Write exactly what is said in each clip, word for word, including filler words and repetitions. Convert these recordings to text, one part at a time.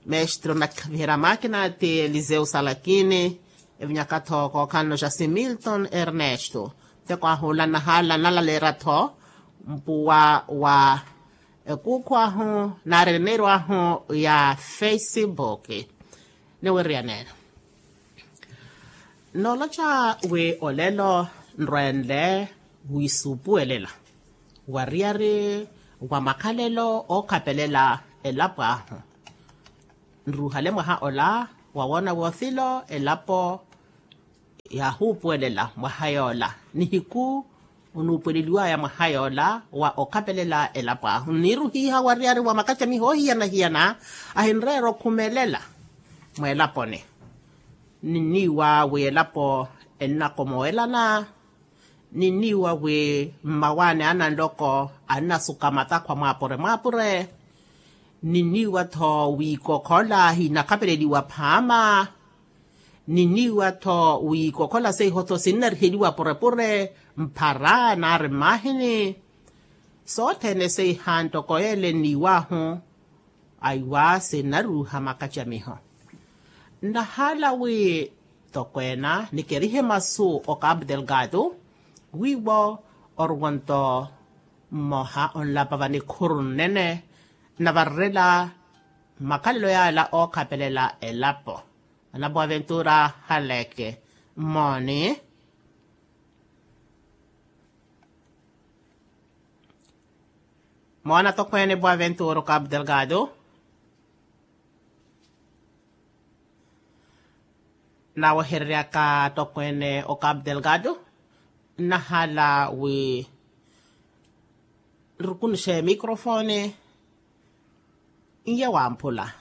Mestro nakhaviherya makina ti eliseu salakini. Evinyaka-tho kookhalano ja similton ernesto. Teko ahula nahala nalaleera-tho mpuwa wa ekuukhu ahu nari eniiro ahu ya facebook. Niwiriyanela noloca wi olelo nrwenle wisuupuwelela wariyari wa makhalelo ookhapelela elapo ahu. Nruuhale mwaha ola wawoona wothilo elapo yaahuupuwelela mwaha yoola nihiku onuupuweleliwaya mwaha yoola wa okhapelela elapo ahu nniiruhiha wariyari wa makacamiho ohiyana-hiyana ahinreera okhumelela mweelaponi. Ninniiwa wi elapo ennakomowelana. Ninniiwa wi mmawaani a nanloko annasuka matakhwa mwaapure mwaapure. Ninniiwa-tho wi ikokhola hinakhapeleliwa phaama. Ninniiwa-tho wi ikokhola seiho-tho sinnariheliwa purepure mphara nari mmaahini. Sothene seiha ntoko yeele nniiw'ahu aiwa sinnaruuha makacamiho. Nnahaala wi tokweena nikerihe masu o cabo delgado wiiwo oruwonto mmoha onlapa vanikhuru nnene nnavarerela makhalelo yaala ookhapelela elapo. Ana boaventura haleke mmooni. Moona tokweene boaventura o cabo delgado nawehereryaka tokweene o cabo delgado. Nnahaala wi nrukunuxe microfone n'iye wamphula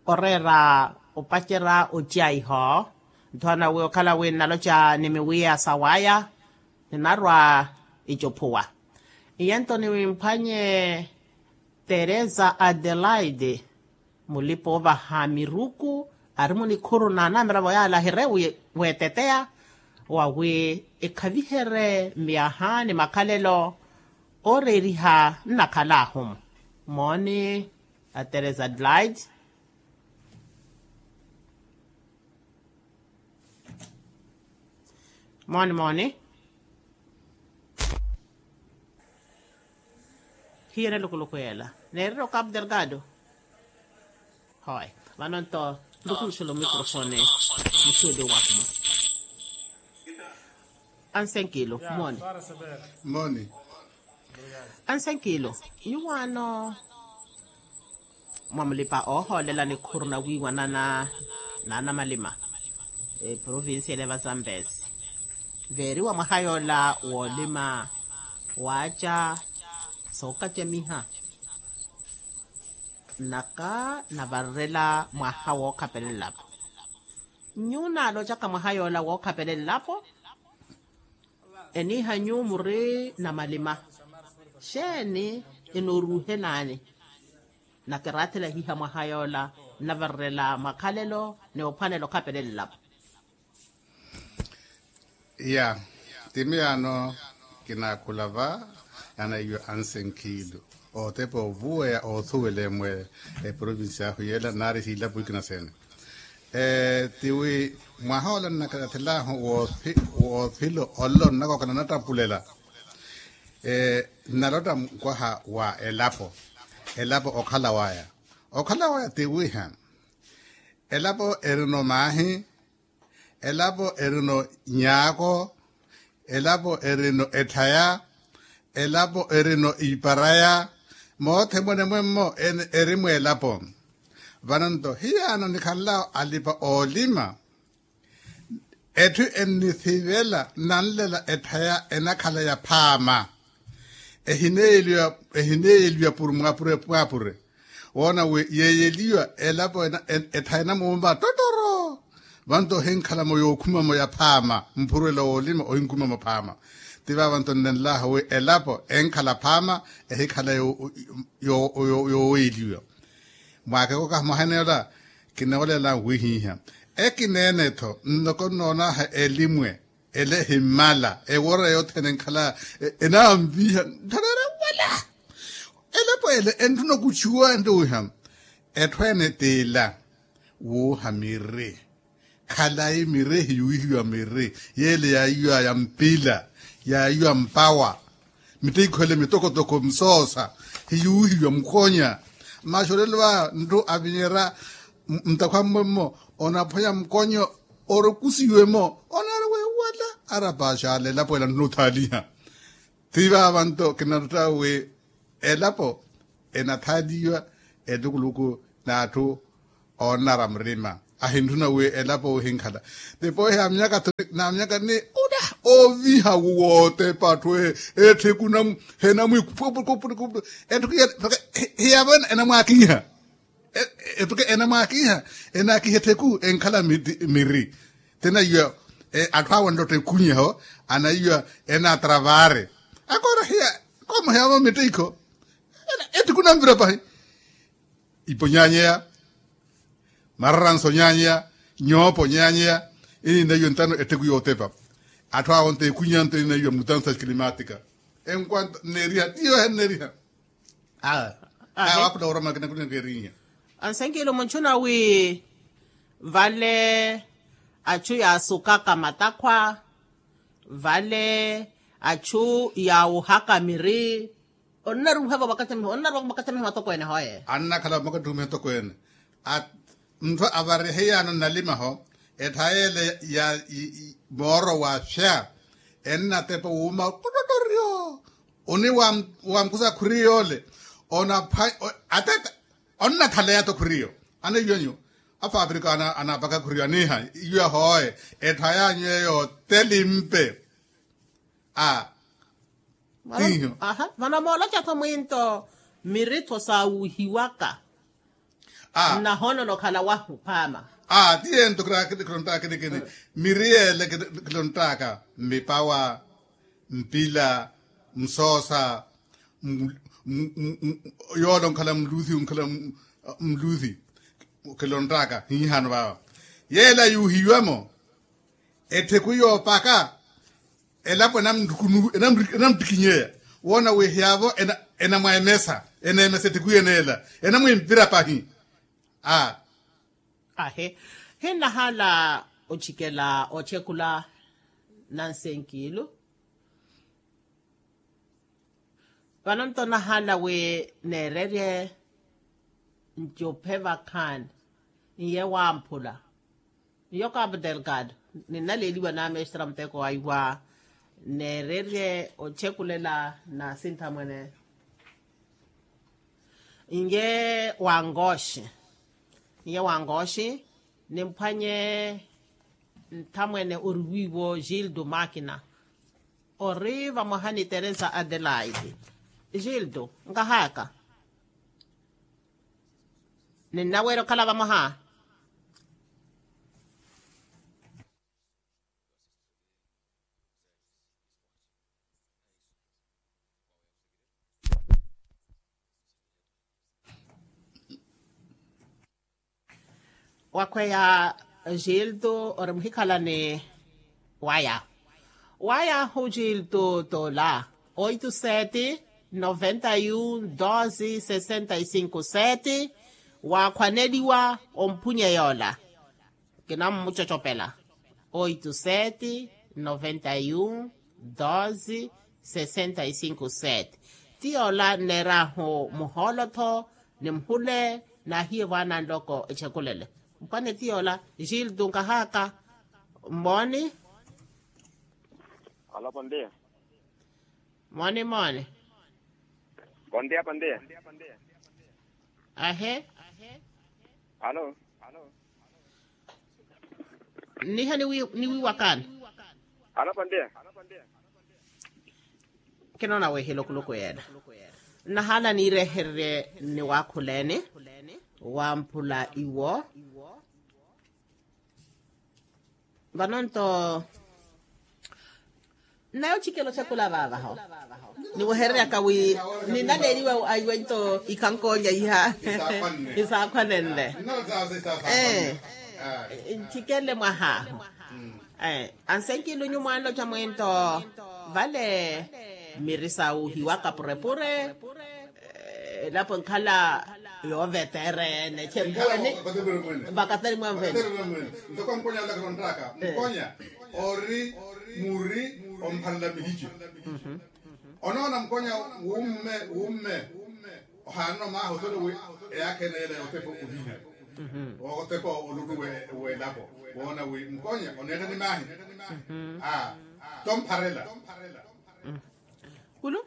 oreera opacerya ociyaiho. Nthoona wi okhala wi nnaloca ni miwiya sawaya ninarwa icuphuwa. Iyento niwimphwanye teresa adelaide mulipa ovaha miruku ari munikhuru na anamiravo yaala ahire weteteya wawi ekhaviherye myaha ni makhalelo ooreeriha nnakhalaahu-mu. Mooni a teresa adelaide. Mooni mooni. Hiyo nelukuluku yeela neerira o cabo delgado. Hoy vano nto nrukunuxela omicrofone musuuli wakumu. Ansenkilo mooni. Mooni. Ansenkilo nyuwaano mwamulipa oohoolela nikhuru nawiiwanana n'anamalima eprovincia eleva zambezi veeriwa mwaha yoola woolima waaca sookacamiha. Naka navarerela mwaha wookhapelela-vo nyuwo naalocaka mwaha yoola wookhapelela-vo. Eniiha nyuwo muri namalima xeeni enooruuhelaani? Nakiraathela hiiha mwaha yoola nnavarerela makhalelo ni ophwanela okhapelela-vo. Ya timi yaano kinaakhula va. Anaiyo ansenkhiilu ootepa ovuweya oothuwela emwe eprovinsi ahu yeela nari hiilapo ikina seene. Tiwi mwaha ola nnakarathelahu woothilo ollo nnakooka nanattampulela. Nnalotta mukwaha wa elapo elapo okhalawaya okhalawaya tiwiha. Elapo erino maahi elapo erino nyaako elapo erino etthaya elapo erino iparaya. Moothe mwenemwemmo eri mweelapo. Vano nto hiyaano nikhanl'awo alipa oolima etthu ennithivela nnanlela etthaya enakhala ya phaama. Ehineeyeliwa ehineeyeliwa puru mwaapure mwaapure woona wi yeeyeliwa elapo etthaya enamuumba tottoro. Vanto ohinkhalamu yookhumamo ya phaama mpurwelo woolima ohinkhumamo phaama. Ti vavanto nnenlaahu wi elapo enkhala phaama ehikhala yooweeliwa. Mwaakeko kaha mwaha eneyola kinoolela wihiiha ekineenetho nnoko nnoonaaha elimwe ele ehimmala ewora yothene enkhala enanviha ntthareera wala. Elapo ele entthuna okutchuwa enttuwiha Etthu ene t'ila wuuha miri. Khalayi miri ehiyuwihiwa miri. Y'ele yaayiwa ya mpila, yaayiwa mpawa, mitteikho ele mitokotoko misoosa, hiyuwihiwa mukonya. Masi olelo va ntthu avinyerya nttakhwa mmwemmo, onaphonya mukonyo, orokusiwe-mo, onaari weewala. Arapaxala elapo ela ntthuna othaaliha. Ti vaava nto kinaretta wi elapo enathaaliwa ettukuluku n'atthu oonnara murima. Ahintthuna wi elapo wihinkhala. Tipohi amyaka ni oviha wootepa atthu ettheku henamwiku. Etthu hiyavo enamwaakiha. Ettuke enamwaakiha, enaakiha ettheku enkhala miri. Ti anayiwa atthu awo anlotta ekunyeho, anayiwa enaatravaare. Akoora hiya koomoheyavo mitteikho. Ettuku namvira pahi. Ipo nyaanyeya, mararanso nyaanyeya, nyoopo nyaanyeya. Eninayiwa entano ettheku yootepa. Atthu awo nto ekunyeha nto eninayiwa mutansa climatika. Enkwanto nneeriha tiyo ehenneeriha. Aa. Aa. Waakhula oroma kinakulinaka erinnya. Ansenkilu muntthuna wi vale achu yaasukaka matakhwa, vale achu yaawuhaka miri. Onnaruuhavo vakatamiho onnaruuhavo vakatamiho atokweene hoye. Annakhala vakatamiho atokweene. Ntthu avariheyaano nnalimaho etthaya ele ya mooro wafya ennatepa wuuma. Putottoryo. Oni wamkusa khuriyo ole. Onapha ateta onnakhaleya to khuriyo. Aneiwanyu afaapirika anaapaka khuriyo aniiha. Iwe hoye etthayanyu eyo telimpe. A. Tiiho. Vano mooloca-tho mwinto miri-tho saawuhiwaka. Nnahoonona okhala wahu phaama. Aa ti yento khilonttaka kinikini. Miri yeele khilonttaka mmipawa, mpila, musoosa, yoole onkhala muluthi onkhala muluthi. Khilonttaka hiihano vaava yeele ayuuhiwa-mo. Ettheku yoopaka elapo enamuttikinyeya woona wi hiyavo enamweemesa eneemesa ettheku yeneela enamwimpira pahi. Aa. Ahe. Hinnahaala ochikela othekula nansenkilu. Vano nto nahaala wi neererye ncuphe vakhaani n'iye wamphula n'iyo kapu delgado. Ninnaleeliwa naamestra muteko waiwa neererye othekulela na sinthamwene. N'iye wangoxi n'iye wangoxi nimphwanye nthamwene ori wiiwo gildo makina. Ori vamwaha ni teresa adelaide. Gildo nkahaka ninnaweera okhala vamwaha. Wakhweya gildo ori muhikhalani waya. Waya hu gildo tola oito sete noventa e um doze sessenta e cinco sete. Waakhwaneliwa omphunya yoola kinammucocopela oito sete noventa e um doze sessenta e cinco sete. Ti yoola nneerahu muhoolo-tho ni muhule naahiye vwana nloko echekulele. Mpwane ti yoola gildo nkahaka. Mmooni. Alo pondia. Mmooni mmooni. Pondia pondia. Ahe. Alo. Nniha niwiiwakani. Alo pondia. Kinoona wihila okuluku yeela. Nnahaala niirehererye nniwaakhuleni wamphula iwo. Vano nto nnayo ochikela othekula vaavaho. Niwehereryaka wi ninaleeliwa aiwe nto ikhankonya iha. Isaakhwanenle. Ee. Nthikele mwahaahu. Ansenkilunyu mwanloca mwento vale miri sawuhiwaka purepure. Elapo enkhala Yoovetereene chenkhalani. Vakatari mwene vakatari mwene vakatari mwene. Ntoko mukonyala khonttaka mukonyala ori muri omphalela mihici. Onoona mukonyala wumme wumme ohaanana omaaha osole wi eyaakha ene yela yotepa ohiha otepa olutu welapo woona wi mukonyala oneetta ni maahi. Tompharela. Kulu.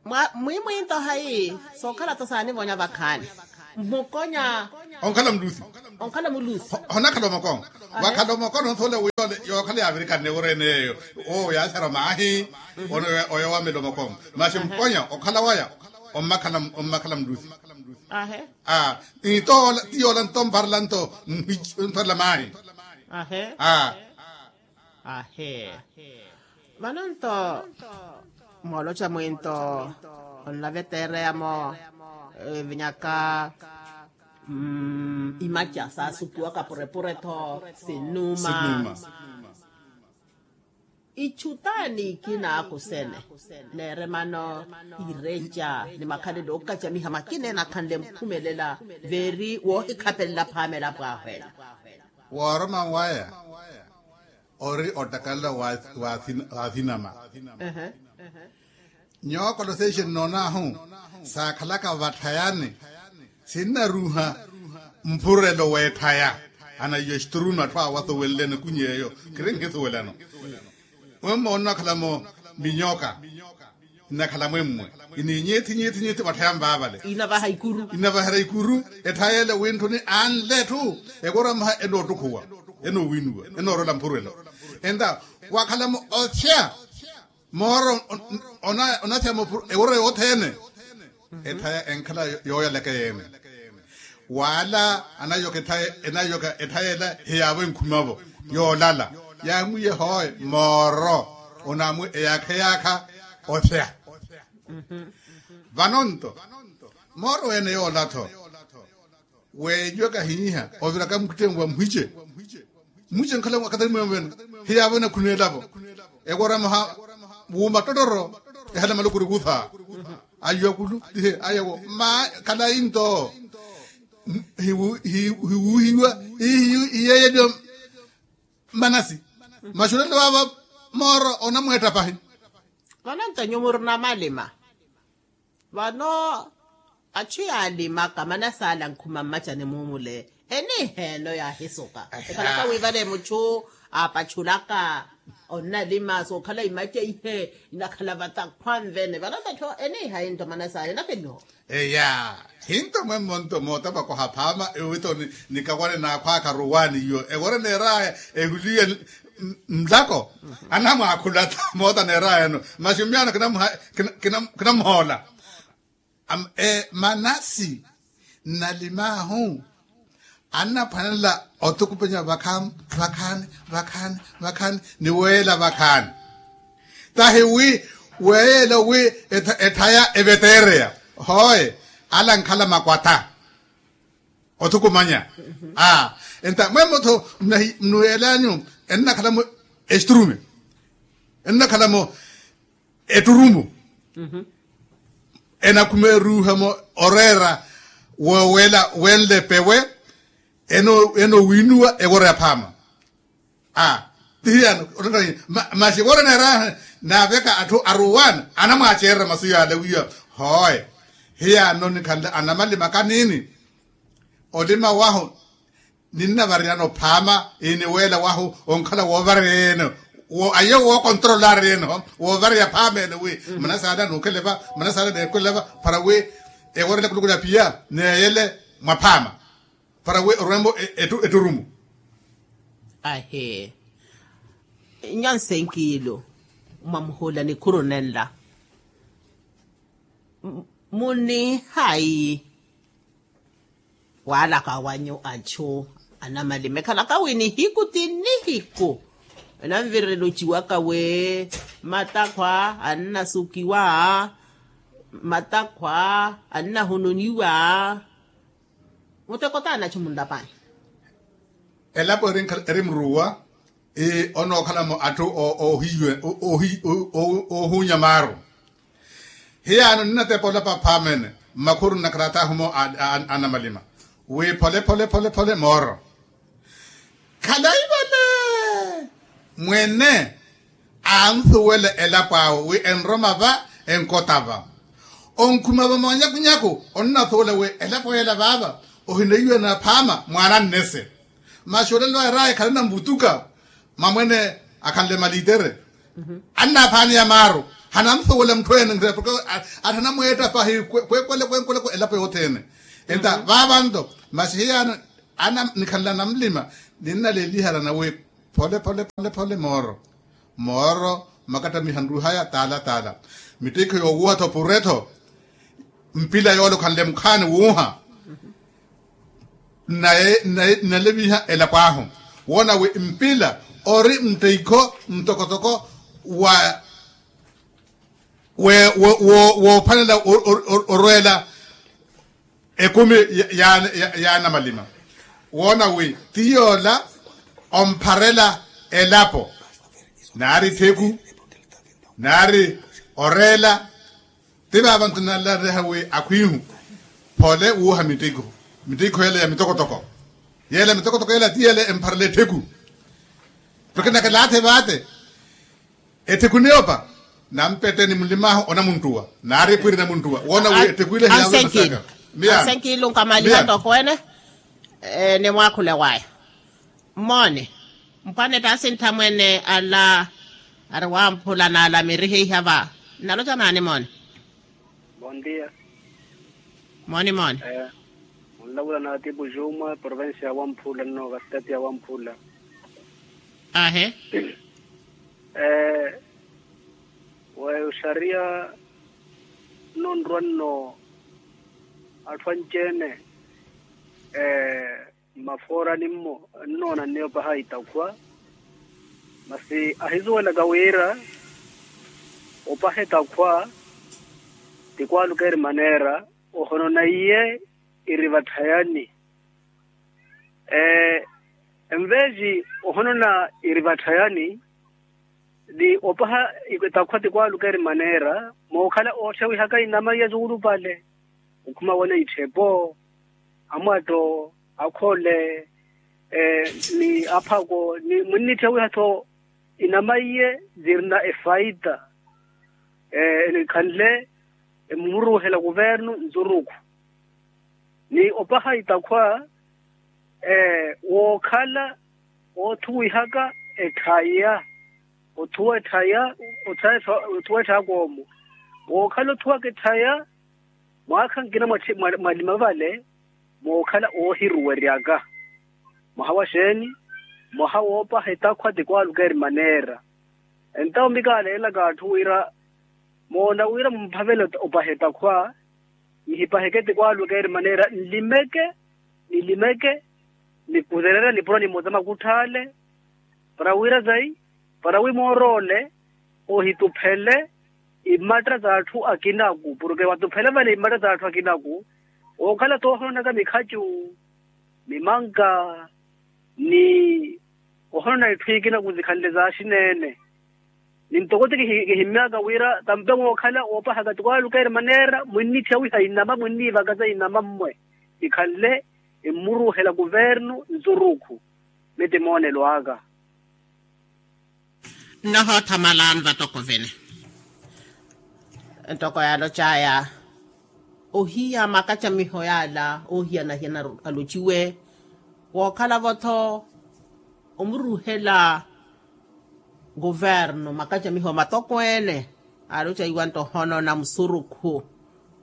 Mwa mwimwinto hayi sookhala-tho saanivonya vakhaani. Mukonya onkhala mulusi. Onkhala mulusi. Honakhala omokono wakhala omokono nthoole wi yookhala yaavirikani neworeene yeeyo. Owo yaathera maahi. Oyo wamela omokono masi mukonya okhala waya ommakhala mulusi. Ahe. Aa. Ni toola ti yoola nto mpharela nto mpharela maahi. Ahe. Aa. Ahe. Vano nto mooloca mwinto onlaveteereyamo vinyaka imaca saasukiwaka purepure-tho sinnuma. Ichu taani ikina akusene neeremano ireca ni makhalelo ookacamiha makina enakhanle mphumelela veeri woohikhapelela phaama elapo ahu ela. Wooroma waya ori ottakalelo wa asinama. Nyookola seixe nnoon'ahu saakhalaka vatthayani sinnaruuha mpurelo w'etthaya. Anaiyo exturuma atthu awo asuwenlene kuny'eyo khiri nhisuwelano. Mwemmo onnakhalamo minyoka nnakhala mwemmwe iniinyiithi nyiithi nyiithi vatthaya nvaavale. Inavahera ikuru etthayele wintthuni anle etthu ekorwa mwaha enoottukhuwa enoowinuwa enoorola mpurelo. Enta wakhalamo othya mooro onathya eworwa yothene. Etthaya enkhala yooyalaka eyeene. Wala anayoka etthayela hiyaavo enkhumavo yoolala yaamwiye hooye mooro onaamwi eyaakha eyaakha othya. Vano nto mooro ene yoola-tho weeliwaka ahiiha oviraka mukittengu wa mwice. Mwice nkhala wakatari mweemuvene hiyaavo enakhuna elavo ekoramaha wuuma ttottoro ehala malukuri kutha. Ayo akulu tihe ayo awo ma khalayi nto hiwuuhiwa iyeeyeliwa. Manasi maxulelo ava mooro onamweetta pahi. Vano nto nyuwo murina malima vano achu yaalimaka manasi ala nkhuma mmacani mumule eniiheeno yaahisuka ekhalaka wi vale muchu aapachulaka onnalima sookhala imaca ihe inakhala vatakhwa nvene vano nto cho eniihayi nto manasi ala enakeniho. Eya hinto mwemmo nto mootapaka ohaphaama ewito nikakwale naakhwaakha ruwaani iyo ewore neeraya ehuliye nlako anamwaakhula-tho moota neeraya eno masi mmiyaano kinamuhoola. Manasi nnalim'ahu annaphwanela othukupenya vakhaani vakhaani vakhaani vakhaani ni weela vakhaani. Tahi wi weela wi etthaya eveteereya hooye ala nkhala makwatta. Othukumanya aa enta mwemmo-tho mnuweel'anyu ennakhalamo exiturume ennakhalamo etturumo. Enakhumeeruuhamo oreera wooweela wenle pewe enowiinuwa eworo ya phaama. Aa ti hiyano masi eworo eneeraahe naaveka atthu aruwaani anamwaaceererya masu yaale wiya hooye hiyano nikhanle anamalima kaniini. Olima wahu ninnavariyana ophaama iniweela wahu onkhala woovareya-ene aye wookontrolara ene-ho woovareya phaama ene wi manasaala nuukhele va manasaala neekhwele va para wi eworele kulukula piya neeyele mwaphaama para wi orwembo etturumu. Ahi nyansenkiilu mwamuhula nikhuru nenla munihayi waalaka wanyu achu anamalima ekhalaka wi nihiku ti nihiku enanvirela ociwaka wi matakhwa annasukiwa matakhwa annahununiwa muteko taani achu munlapani. Elapo eri muruwa onookhalamo atthu oohunya maaru. Hiyaano ninnatepa olapa aphaamene mmakhuru nnakaratahu mo a anamalima wi phole phole phole phole mooro. Khalayi vale mwene ansuwela elapo awe wi enroma va enkota va. Onkhuma vamanyakunyaku onnasuwela wi elapo yela vaava ohineiwe na phaama mwaana nnese. Masi olelo aya raaya khalana mvutuka mamwene akhanle malitere. Annaphaaneya maaru hanamsuwela mutthu ene nre porke athanamweetta pahi kwekwele kwenkweleko elapo yothene. Enta vaavanto masi hiyaano ana nikhanla namulima ninnaleliharana wi phole phole phole phole mooro. Mooro makattamiha nruhaya taala taala mittikho yoowuha-tho pure-tho. Mpila yoole okhanle mukhaani wuuha nnaleviha elapo ahu woona wi mpila ori mtteikho mtokotoko wa woophanela orweela ekumi ya anamalima. Woona wi ti yoola ompharela elapo naari ttheku naari oreela. Ti vaava nkinalareha wi akhwihu phole wuuha mittikho mittikho yela ya mitokotoko yela mitokotoko yela ti yela empharela ettheku. Porke nakalaathe vaate ettheku niyoopa nampette ni mulim'ahu onamunttuwa naari epwiri namunttuwa woona wi ettheku ile hiyawe masaka. Miya ansenkilu nkamaliha ntoko ene. Nimwaakhule waya mmoone mpwanetta asinttha mwene ala ari wamphula n'ala mirihiha va. Nnaloca naani moone? Mooni mooni. Munlavula na atipu juma provincia ya wamphula nno kastati ya wamphula. Ahe. Weyo oxariya nno nrwa nno atthu anci-ene mmafoorani-mmo nnoona nniyo opaha itakhwa. Masi ahisuwelaka wira opaha etakhwa ti kwaaluka eri maneera ohonona iye iri vatthayani. Enveji ohonona iri vatthayani ni opaha etakhwa ti kwaaluka eri maneera mookhala ootthyawihaka inama iya zuulupale okhuma wona itthepo amwatto akhole ni aphako ni mwinnitthyawiha-tho inama iye zirina efaita enikhanle emuruuhela kuvernu nzurukhu ni opaha itakhwa wookhala oothuwihaka etthaya othuwa etthaya othuwa etthaya koomo wookhala othuwaka etthaya mwaakha nkina mwa lima vale mookhala oohiruweryaka mwaha wa xeeni mwaha woopaha etakhwa ti kwaaluka eri maneera. Entawo mika aleelaka atthu wira moona wira mumphavele opaha etakhwa nihipaheke ti kwaaluka eri maneera nlimeke nilimeke nikuzereera nipuro nimoza makutthaale para wira zayi para wi mooroole ohituphele imatta z'atthu akinaku porke watuphele vale imatta z'atthu akinaku ookhala toohononaka mikhacu mimanka ni ohonona itthu ikinaku zikhanle zaaxineene ni ntoko ti kihimmyaka wira tampe mookhala oopahaka ti kwaaluka eri maneera mwinnitthyawiha inama mwinniivaka za inama mmwe ikhanle emmuruuhela kuvernu nzurukhu. Miti moonelo aka nnohootha malaani vatoko vene ntoko yaalocaya ohiya makacamiho yaala oohiyanahiyana alociwe wookhalavo-tho omuruuhela kuvernu makacamiho matokweene aalocaiwa nto ohonona musurukhu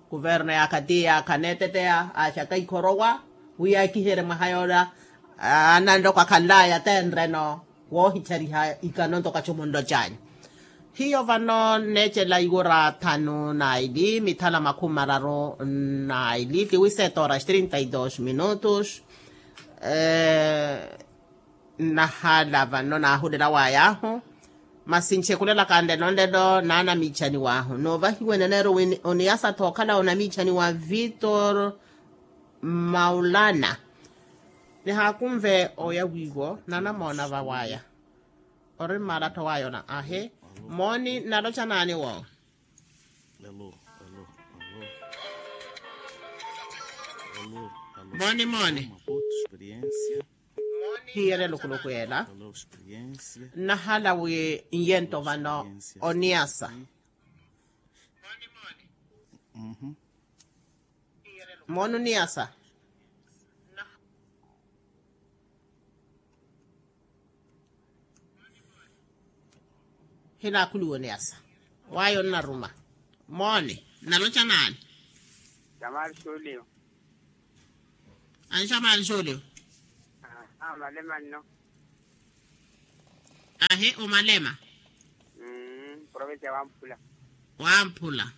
kuvernu yaakha ti yaakha aneeteteya aaxaka ikhorowa wi yaakiherye mwaha yoola ananloko akhanlaya tenreno woohichariha ikano ntoko achumunlo canyu. Hiyo vano nneecela iwura thanu na ili mithala makhumi mararu na ili tiwise toras trinta y dos minutos. Nnahala vano naahulera waya ahu masi nchekulelaka nlelo nlelo naanamiichaniwa ahu noovahiwa eneneero wi oniyasa-tho okhala onamiichaniwa victor maulana. Nihaakunve oya wiiwo nanamoona vawaya ori mmaala-tho waya ona ahe mooni nnaloca naani wo. Mooni mooni. Hiyere lukuluku yeela. Nnahala wi nyento vano oniyasa. Mooni oniyasa. Hinaakhuliwa oniyasa. Waya onnaruma. Mooni nnaloca naani? Xamari xuuliwa. Anxamari xuuliwa. Amalema nno. Ahi omalema. Provincia ya wamphula. Wamphula.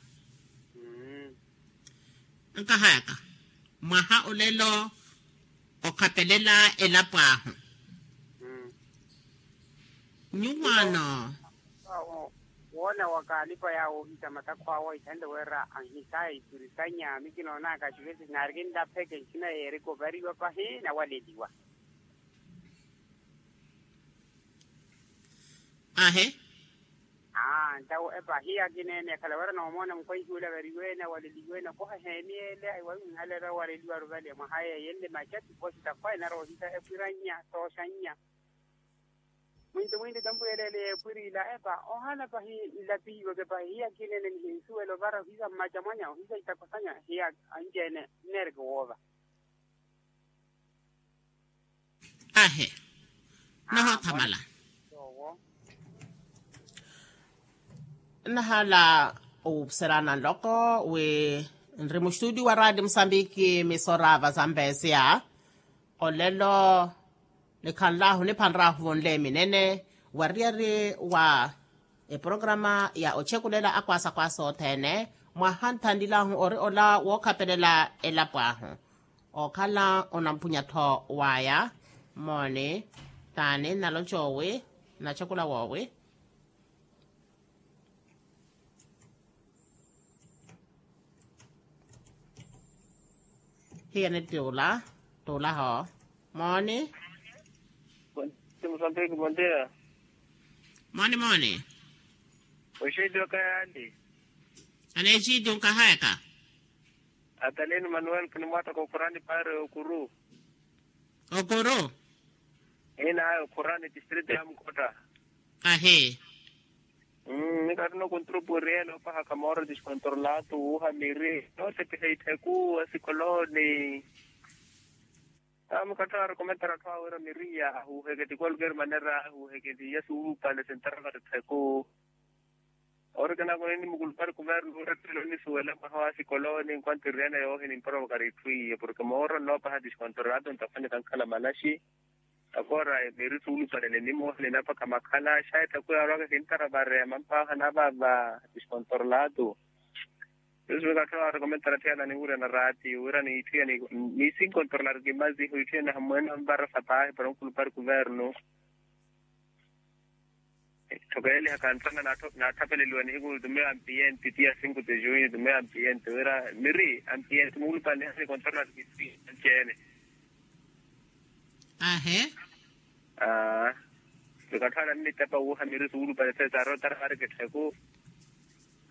Nkahayaka mwaha olelo okhapelela elapo ahu. Nyuwaano. Woona wakaalipa yaawo ohisa matakhu awo ithanle wira anhisaya ipirisanya mikinoonaka xivesi naari kinlapheke nxina yeerika ovariwa pahi nawaleliwa. Ahe. Aa ntawo epa hiya kineene akhala wira noomoona mukwahihi ole avariweene awaleliweene okoha eheeni ele aiwawi mwihalelo awaleliwaru vale mwaha yeeyenle maca tiposi takhwa enaroohisa epwirannya tooxannya. Mwinti mwinti tempu yeleele yeepwirila epa ohana pahi nlapihiweke pahi hiya kineene nihinsuwela ovara ohisa mmaca mwanya ohisa itakosanya hiya anci-ene nneereke woova. Ahe. Nohoothamala. Nnahala oserana nloko wi nri muxtudio wa raati musambiki misorava sa mpesia. Olelo nikhanlahu niphanrahu vonle minene wariyari wa eprograma ya ochekulela akwasa kwasa othene. Mwaha nthanlilahu ori ola wookhapelela elapo ahu. Okhala onampunya-tho waya. Mooni taani nnaloca owi nnachekula woowi? Hiyani tuula tuulaho. Mooni. Mooni mooni. Oxeeti okayaali. Aneexeeti onkahayaka. Atalini manuel kinimwattaka okhurani paari okuru. Okuru. Ina aya okhurani distrito ya mukhotta. Ahi. Ni kattuna okontroporiene opahaka mooro diskontrolatu wuuha miri nootepiha ittheku asikoloni. Ami kattuna arekomentara atthu awe wira miri ya ahuuheke ti kolker manera ahuuheke ti ya suulupale sentara vattittheku. Ori kinaakoni nimukulupari kuvernu wira ettelo nisuwela mwaha wa sikoloni nkwantiriyana yoohini mporoka rittwiye porke mooro nnoopaha diskontrolatu ntakhwani kankhala malaxi. Akora miri suulupale ni nimoha ninapaka makhala xayi thaku yaarwaka kintara vareya mampaaha navava diskontrolatu. Yusu wikatthu arekomentara thiyana ninwirya na raati wira niitthiya nisinkontrolar kimazihu itthiya nahammwene anvara sapaahi para onkulupari kuvernu. Tthokeyeliha kantana naathapeleliwa nihiku nitumeyo ampienti tiya sinku tijui nitumeyo ampienti wira miri ampienti muulupale nihasi kontrona. Nceene. Ahe. Aa. Nikatthu ana nnitepa wuuha miri suulupale sesarotara vari kittheku.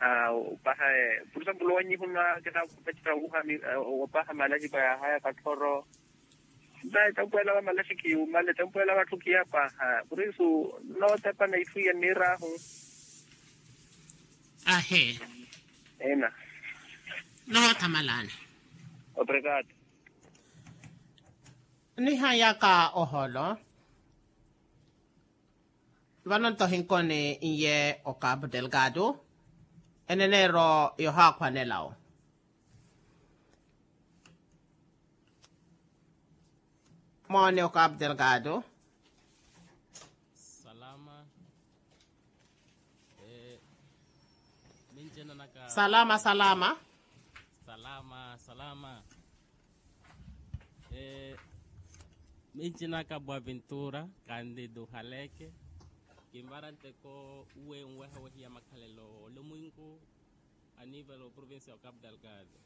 Aa opaha. Por example wanyihuna kinaakupetera wuuha. Opaha malaxipa yahaya katthoro. Ntayi tempu ela va malaxi khiyumale tempu ela vatthu khiyapaha. Por isso nnootepa na itthu iya nniiraahu. Ahe. Ena. Nohoothamalani. Obrigado. Nihayaka oholo. Vano nto hinkoni iye o cabo delgado. Eneneero yohaakhwanela-wo. Moone o cabo delgado. Salama. Mincinanaka salama salama. Salama salama. Mincinaka bwa vintura kandidu haleke. Kimbara nteko uwe nweha wehiya makhalelo olomwinku. Anivelo provincia o cabo delgado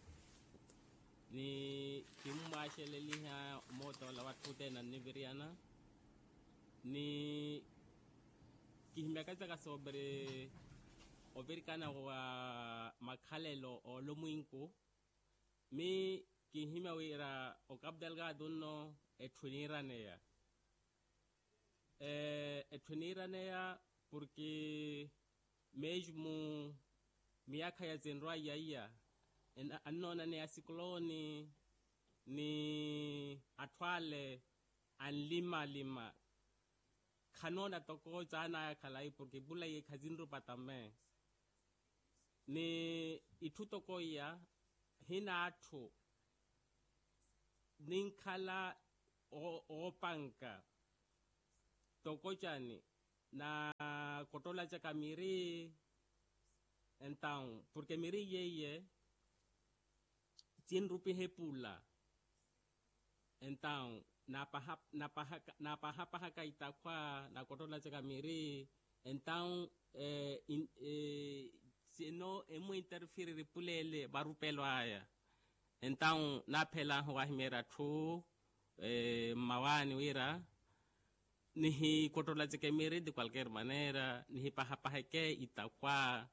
ni kimmwaxeleliha omoota ola watthu othene anniviriyana. Ni kihimyaka saka soopiri ovirikana wa makhalelo olomwinku. Mi Kinhimya wira okapu delgado nno etthu eniiraneya. Etthu eniiraneya porke mesmo miyaakha ya zinrwaiya iya annoonaneya asikuloni ni atthu ale anlimalima. Khanoona toko caanaya khalayi porke epula iye khazinrupata me ni itthu toko iya hina atthu ninkhala oopanka toko cani na kottolacaka miri. Entawu porke miri yeiye cinrupiha epula entawu napahapahaka itakhwa na kottolacaka miri. Entawu sino emwinterfiriri epula ele varupelo aya. Entawu naaphelaahu wahimyerya atthu mmawaani wira nihikottolaceke miri de qualquer maneira nihipahapaheke itakhwa.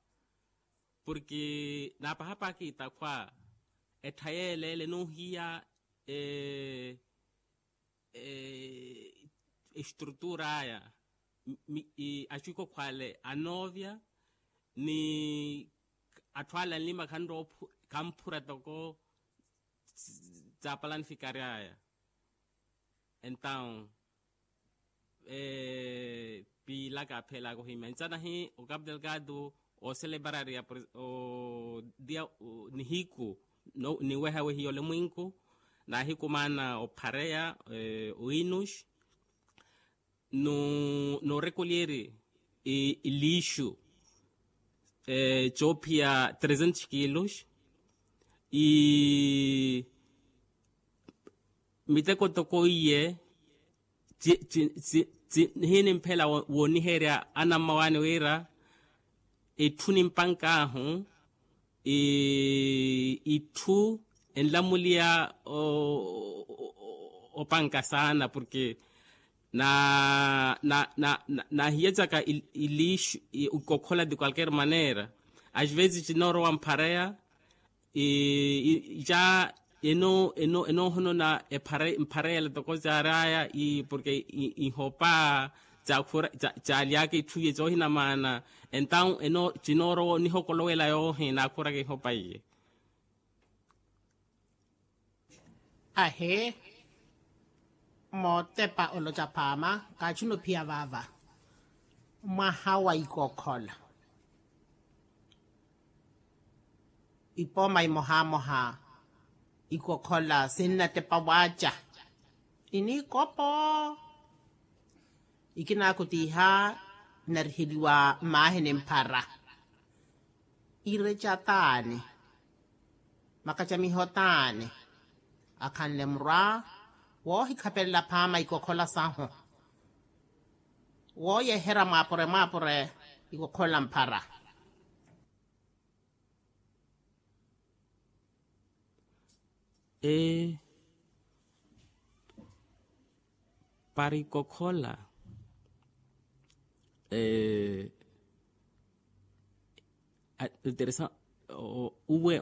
Porke naapahapahaka itakhwa etthaya ele ele noohiya estrutura aya aciikokhwale anoovya ni atthu ale anlima khanrowa khamphura toko tsa planificaryaya. Entawu piilaka aphelaka ohimya ncanahi okapu delgado oselebararia nihiku niwehawehiya olemwinku naahikumaana ophareya oinus noorekolyeri iliixu coophiya trezentos kilos i miteko toko iye hiinimphela wooniherya anammawaani wira itthu nimpank'ahu itthu enlamuliya opanka saana porke na na na na nahiyacaka iliixu ikokhola de qualquer maneira. Às vezes cinoorowa mphareya ja enoohonona mphareya ela toko caaraya porke ihopa caalyaka itthu iye coohina maana. Entawu cinoorowa onihokolowela yoohi naakhuraka ihopa iye. Ahi mootepa oloca phaama kaatthuna ophiya vaava mwaha wa ikokhola ipooma imohamoha ikokhola sinnatepa waaca iniikopo ikinaakutiiha nariheliwa mmaahi ni mphara ireca taani makacamiho taani akhanle murwa woohikhapelela phaama ikokhola sahu wooyeherya mwaapure mwaapure ikokhola mphara para ikokhola interesante uwe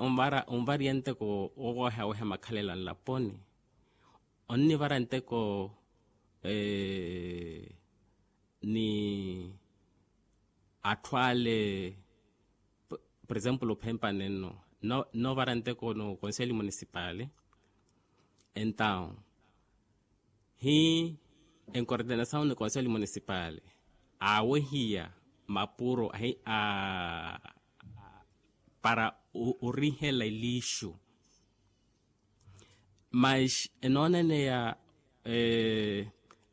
onvariya nteko owehaweha makhalelo a nlaponi onnivara nteko ni atthu ale por exemplo ophempa nenno novara nteko no conselho municipale entawu hi encoordenação no conselho municipale awehiya mapuro para orihela eliixu mas enooneneya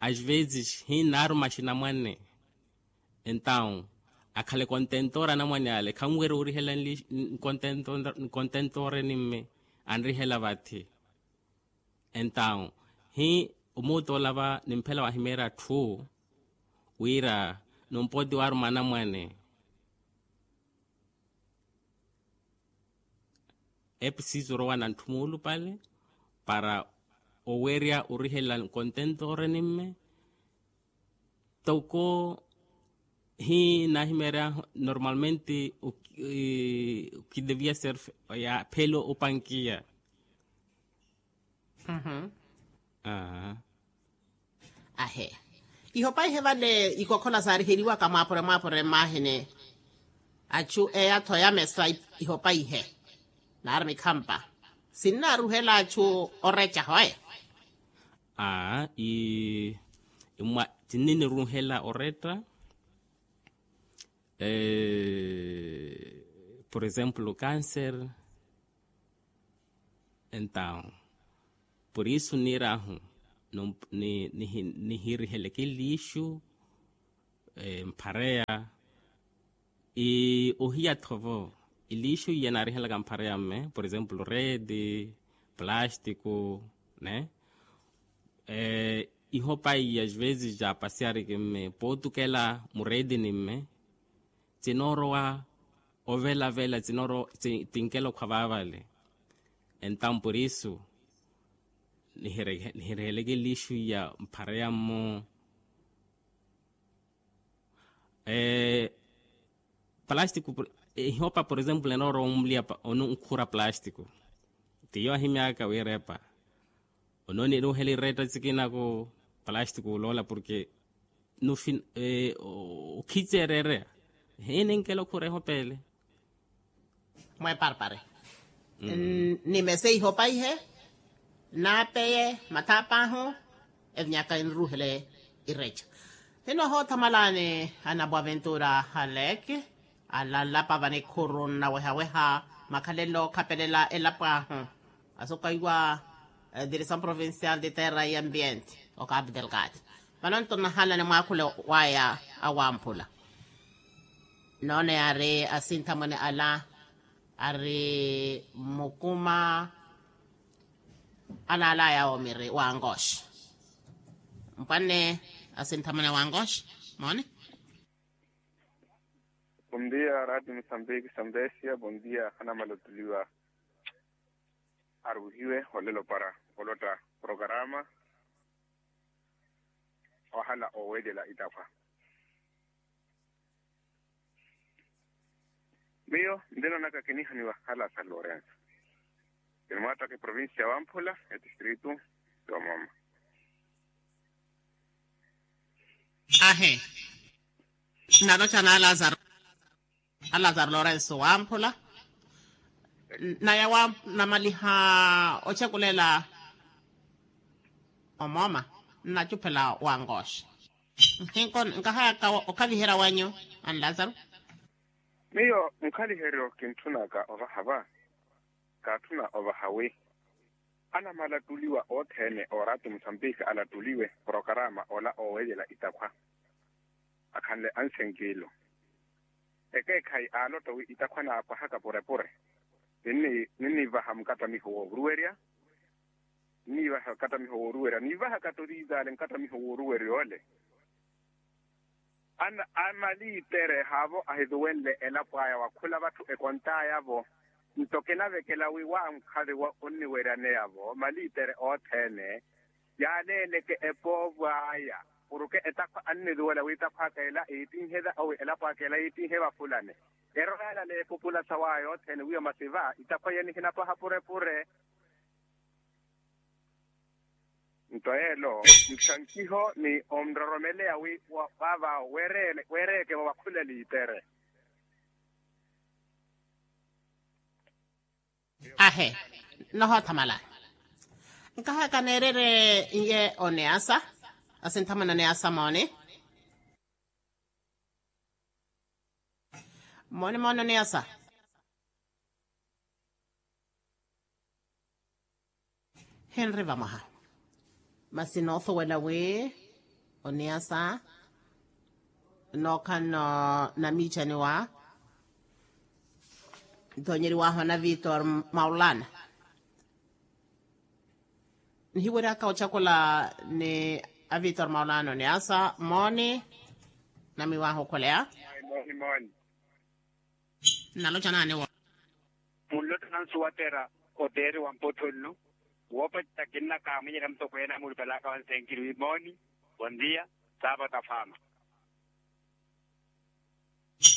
às vezes hinnaaru maxinamwane entawu akhale kontentora anamwane ale khanwerya orihela nkontentora nimme anrihela vathi entawu hi omuuta olava nimphela wahimeerya atthu wira numpooti waaruma anamwane episiso orowa na ntthumuulu pale para owerya orihela nkontentore nimme toko hi naahimeerya normalmente okidevia ser ya phelo opankiya Ihopaihe vale ikokhola saariheriwaka mwaapure mwaapure mmaahini. Achu eya-tho yamesa ihopaihe nari mikhampa sinnaaruhela achu orecaho e. Aa i imwa tinniniruhela oretta. Por exemplo cancer. Entaw por isu niir'ahu nihiiriheleke liixu mphareya. Ohiya-tho vo iliixu iya naarihelaka mphareya mme por exemplo reedi, plastiku ne ihopa iya às vezes ja pasiyariki mme pootukela mureedini mme tinoorowa ovelavela tinoorowa tinkela okhwa vaavale. Entaw por isu nihiriheleke liixu iya mphareya mmo. Palastiku ihopa por exemplo enoorowa onmuliya onkhura palastiku tiyo ahimyaka wira epa ononiruhela iretta tsikinaku palastiku oloola porke nufi okhiceereereya hininkela okhura ehopa ele. Mweparpare nimese ihopaihe naapeye mathaap'ahu evinyaka eniruhele ireca. Hino hoothamalani anaboaventura halek alanlapa vanikhuru nnawehaweha makhalelo okhapelela elapo ahu asukwaiwa. Direcção provincial de terra e ambiente o cabo delgado vano nto nnahalani mwaakhule waya awamphula. Noone ari asinthamwene ala ari mukuma alaalaya omiri wa angosh. Mpwanne asinthamwene wa angosh moone. Bondia radio mosambiki sambesia bondia hanamala otuliwa. Aruhiwe olelo para olotta programa ohala owelela itakhwa. Miyo ndinonaka kinihaniwa halasa lorenso kinimwattaka eprovincia wamphula etistritu. Yomoma. Ahe nalocha na alazaro. Alazaro lorenso wamphula naya namaliha ochakulela. Omooma nnachuphela wa ngoosha. Nkahayaka okhaviherya wanyu anlazaro. Miyo nkhaliheryo kintthunaka ovaha va kaatthuna ovaha wi anamala attuliwa othene orato musambiki alattuliwe porokaraama ola oweeyela itakhwa akhanle ansenkiilo. Ekeekhayi aalotto wi itakhwa naapwahaka purepure ninniivaha mukattamiho wooruwerya. Nniivaha mukattamiho wooruwerya niivahaka ttoriitaale mukattamiho wooruwerya ole. Amaliitere haavo ahiruwenle elapo aya wakhula vatthu ekontaya-vo nto kinavekela wi wa nkhali onniweryaneyavo maliitere othene yaaleeleke epoovo aya. Porke etakhwa anniruwela wi etakhwa aka ela iittinhe elapo aka ela iittinhe vafulani. Erorayala n'epupula sawaya othene wiya masi va etakhwa iya nihinapwaha purepure. Nto yeelo nthankiho ni onroromeleya wi vava weereeke vo vakhule liitere. Ahe nohoothamala. Nkahaka neererye iye oneasa asinthamana oneasa mooni. Mooni mooni oneasa. Henri vamwaha masi noosuwela wi oniyasa nookhala namiicaniwa ntoonyeriwahu na vitor maulana. Nihiweryaka ocakula ni avitor maulana oniyasa mooni. Namiwahu okhuleya. Naloca naani wo. Munlotta nansu wattera oteeri wa mpottho nnu woopatta kinnakaamwinyerya mutokweene amulupelaka wa nsenkiri wi mooni. Bondia. Saapata faama.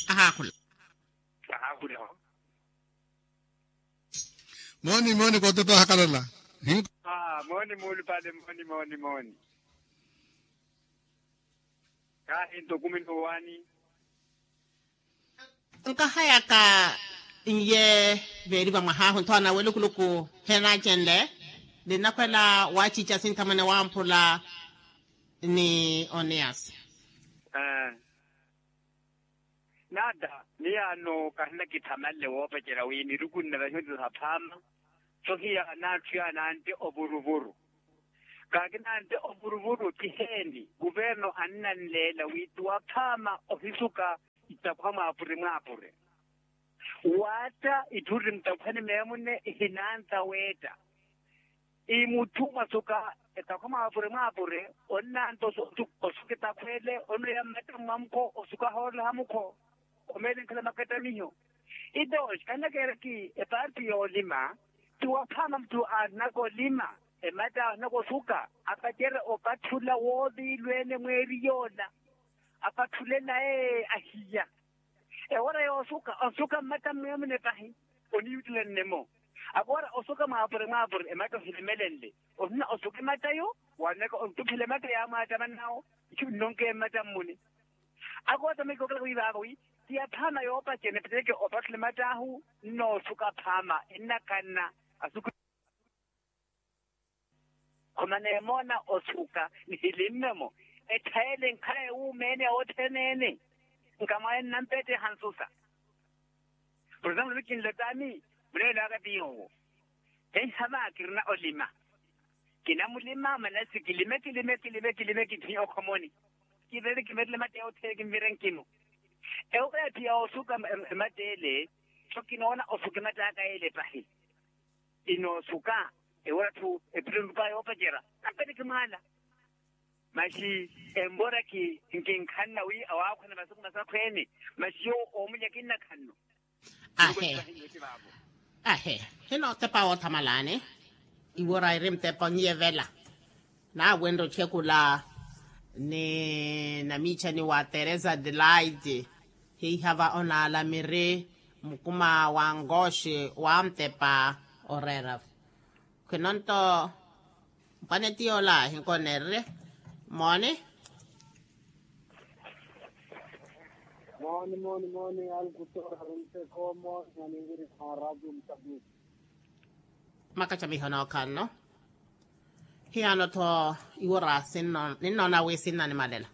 Ahaakhula. Ahaakhula. Mooni mooni koototo ahakalala. Mooni muulupale mooni mooni mooni. Kaahi nto kumi n'uwaani. Nkahayaka n'iye veeriva mwahaahu nthoona welukuluku henaacenle ninnakhwela waaciica sinthamwene wamphula ni oniyasi. Naada miyaano kahinakithamanle woopacerya wi miruku nne vahiyo nti saphaama. Sohiya n'atthu yaana antte ovuruvuru. Kaakinantte ovuruvuru kiheeni kuverno annanleela wi ti waphaama ohisuka ittakhwa mwaapure mwaapure. Waatta itthu ri mutakhwani meemune ihinantta weetta. Imutthu mwasuka etakhwa mwaapure mwaapure onnantta osuka etakhwele onoya mmatta mmwamukho osuka hoolola hamukho. Omeele nkhala makattamiho. Itoxi khannakeeraki epaarti yoolima. Ti waphaama mutthu aahinaka olima ematta aahinaka osuka apacerya opatthula wooviilweene mweeri yoola. Apatthule naye ahiya ewara yoosuka osuka mmatta mmeemune pahi. Oniyuttela nnemo akoora osuka mwaapure mwaapure ematta ohilimelenle. Ohina osuka emattayo waanaka ontuphela ematta yaamwaattamanawo. Itthu nnonke mmatta mmune. Akoota mekokela wi vaava wi ti aphaama yoopacerya ni pacereke opatthula ematt'ahu. Nnoosuka aphaama ennakanna asuku. Khumana emoona osuka nihilimme-mo etthayele nkhaye wuumeene othene-ene. Nkamwaye nnampetteha nsusa. Porosempulu kinlotani muneelo aka ti yoowo. Heiha va kirina olima. Kinamulima manasi kilime kilime kilime kilime kithi okhomoni. Kiverele kiverele ematta yothene kinvire nkinu. Ewo yaatthi ya osuka ematta ele tho kinoona osuka ematta aka ele pahi. Inoosuka ewora-tho epitto nrupa yoopacerya. Nampeteke mwaala. Maxi envora kinkhanna wi awaakhwana masuku masakhweene. Maxi yoowo oomulya kinnakhanno. Ahe. Ahe. Hino otepa woothamalaani. Iwora iri mutepa onyiyevela. Naawenre othekula ni namiichani wa teresa delight. Hiihava onaala miri mukuma wa nkooxi wa mutepa oreera. Khwino nto mpwaneti yoola ahinkoneererye. Mooni. Mooni mooni mooni alkutora runteko mooni aninviri kha radio mutapiti. Makacamiho nookhanno. Hiyaano-tho iwora sinno ninnoona wi sinnanimalela.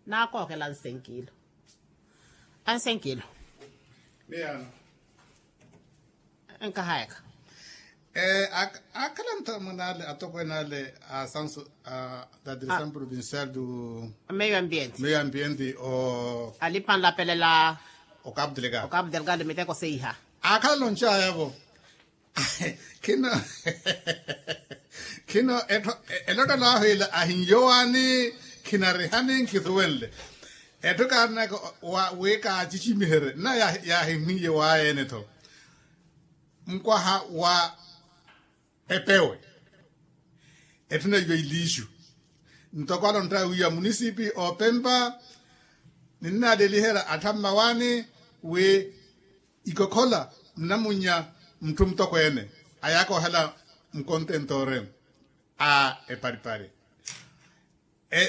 Naakookela ansenkiilo. Ansenkiilo. Miyaano. Nkahayaka. Akhala nthamwene ale atokweene ale a sanso a da direção provincial do meio ambiente meio ambiente o alipanlapelela o cabo delgado o cabo delgado miteko seiha. Akhala lonchayavo. Khino khino etthu elotto laahu ila ahinyowaani. Khinarihani nkisuwenle etthu kaarina eka wi kaacicimiherye nna yaahimwiiye waayeene-tho. Mukwaha wa epewe etthuna iwe iliixu ntoko alontta wiiya munisipi opempa. Ninnaaleliherya atthu ammawaani wi ikokhola nnamunnya mutthu mutokweene ayaakoohela mukontentore a eparipari.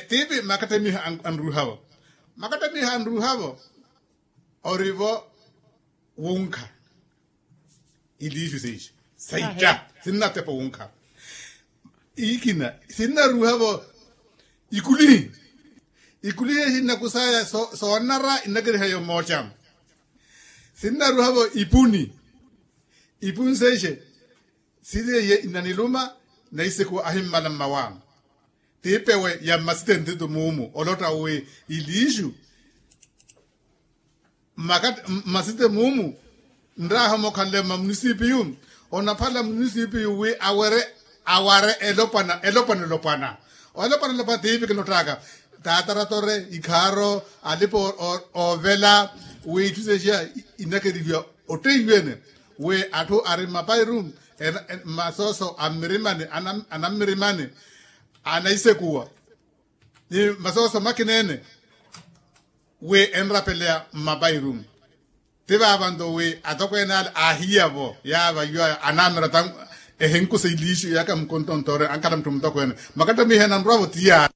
Tiipi makattamiha anruuhavo makattamiha anruuhavo orivo wunkha. Iliixu seixa saitta sinnatepa wunkha. Ikina sinnaruuhavo ikulihi ikulihi ehi nnakusaya soonara innakeriha yomootta. Sinnaruuhavo ipuni ipuni seixe siri eye innaniluma naisekuwa ahimmala mmawaano. Tiipewe ya mmasitentento muumu olotta wi iliixu mmasite muumu. Nraaha omokhanle mma munisipiyu onaphala munisipiyu wi awere aware elopwana elopwana elopwana. Olopwana elopwana tiipi kilottaka taataratore ikhaaro alipa oovela wi itthu seexiya inakerihiwa otteiwene wi atthu ari mmapairu mmasooso a mmirimani anammirimani anaisekuwa ni masooso makineene wi enrapeleya mmapairu. Ti vaavanto wi atokweene ale aahiyavo yaava iwaya anaamira ta ehinkusa iliixu yaka mukontontoore ankhala mutthu mutokweene makattamiha enanrwavo ti yaala.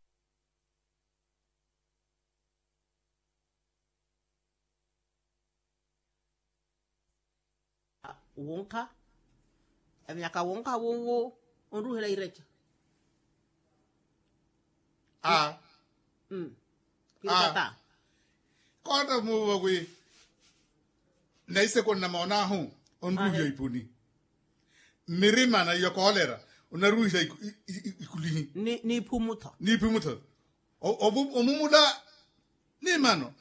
Wunkha. Evinyaka wunkha wuwu onruhela ireca. A. Koota muva wi. Naiseko nnamoon'ahu onruhiha ipuni. Mmirima na iyo koolera onaruhiha ikulihi. N'iphumutho. N'iphumutho. Omumula. Ni mano.